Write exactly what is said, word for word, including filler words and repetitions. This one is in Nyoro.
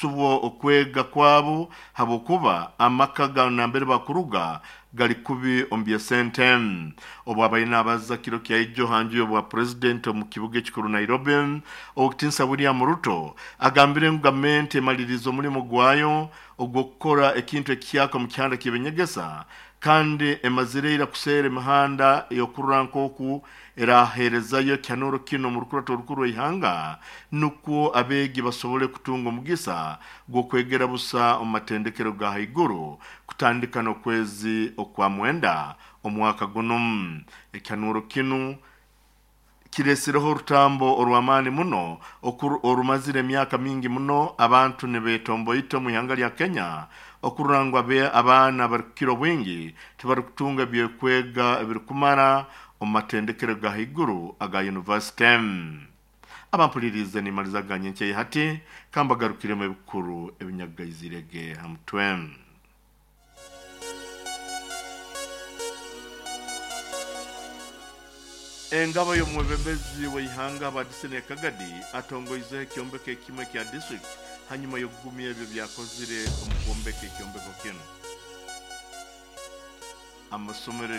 Subwo okwega kwabo habwokuba amaka ga nambere bakuruga gali kubi omu by'esente. Obu abaire naabaza kiro kya ijo hanju y'obwa purezidenti omu kibuga ekikuru Nairobi, Owekitinisa William Ruto agambire ngu gavumenti emalirize omulimu gwayo ogw'okukora ekintu ekihyaka omu kihanda ky'ebinyegesa, kandi emazire ira kuseera emihanda ey'okurora nk'oku eraheerezayo ekihanuro kinu omu rukurato orukuru rw'ihanga, nukwo abeegi basobole kutunga omugisa gw'okwegera busa omu matendekero ga haiguru kutandika n'okwezi okwa mwenda omwaka gunu. Ekihanuro kinu kiresireho orutambo orw'amaani muno orumazire emyaka mingi muno abantu nibetomboita omu ihanga lya Kenya okurora ngu abaana abarukukira obwingi tibarukutunga ebyokwega ebirukumara omu matendekero ga haiguru aga yunivasite. Abampuliriize, nimaliza nyenkya hati kambagarukiremu ebikuru ebinyagaizirege ha mutwe. Engabo y'omwebembezi w'ihanga Abadisine Kagadi atongoizeho ekyombeko ekimwe kya district hanyuma y'okugumya ebyo byakozire omu kwombeka ekyombeko kinu. Amasomero